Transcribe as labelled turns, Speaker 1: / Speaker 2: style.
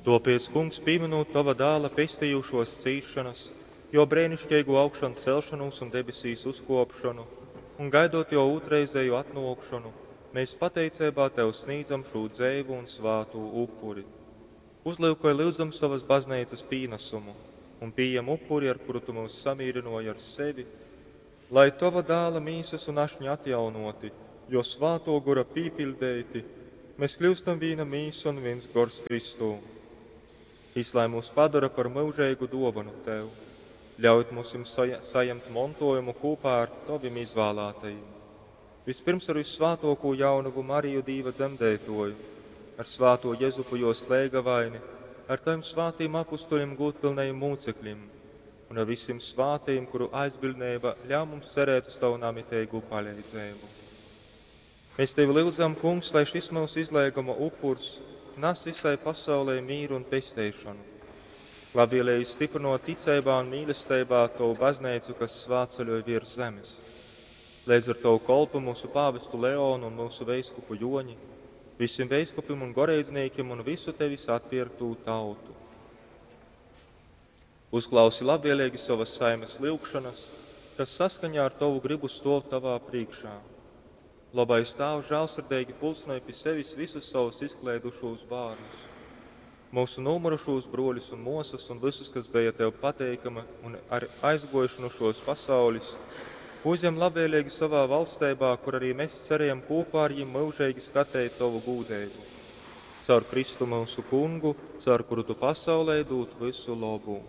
Speaker 1: Tōpēc, Kungs, pīmynūt Tova Dāla pestejūšōs cīsšonas, Jō breiniškeigū augšancelšonūs un debesīs uzkōpšonu, un gaidot Jō ūtrreizēju atnōkšonu, mēs pateiceibā Tev snīdzam šū dzeivu un svātū upuri. Uzlyukoj, lyudzam, sovas Bazneicas pīnasumu un pījem upuri, ar kuru Tu myus samīrynōji ar sevi, lai, Tova Dāla mīsas un ašņa atjaunōti, Jō Svātō Gora pīpiļdeiti, mēs kļūstam vīna mīsa un vīns gors Kristū. Jys lai mūs padora par myužeigu dōvonu Tev, ļaujot mums sajemt montojumu kūpā ar Tovim izvālātajim. Vispirms ar Vyssvātōkū jaunovu Mariju Dīva dzemdētōju, ar svātū Jezupu jōs leigavaini, ar Tavim svātīm apustuļim gūdpilnajim mūcekļim un ar visiem svātajim, kuru aizbildneiba ļauj mums cerēt uz Tavu namiteigū paleidzeibu. Mēs Tevi lyudzam, Kungs, lai šis mūsu izlēguma upurs nes visai pasaulē mīru un pesteišanu. Labvēlīgi stiprinot ticeibā un mīlestībā Tavu baznīcu, kas svātceļoj virs zemes. Līdz ar Tavu kolpu mūsu pāvestu Leonu un mūsu veiskupu Joņi, visiem veiskupim un goreidzniekiem un visu Tevis atpirktū tautu. Uzklausi labvēlīgi savas saimes lyugšanas, kas saskaņā ar Tavu gribu stov Tavā priekšā. Labais Tēvs žēlsirdīgi pulcināja pie sevis visus savus izklaidušos bērnus, mūsu nomurušos broļus un mosas un visus, kas bija Tev pateikama un ar aizgojuši no šos pasaules, uzņem labvēlīgi savā valstībā, kur arī mēs cerējam kopā ar viņiem mūžīgi skatīt Tavu gūdību. Caur Kristu mūsu kungu, caur kuru Tu pasaulē dod visu labu.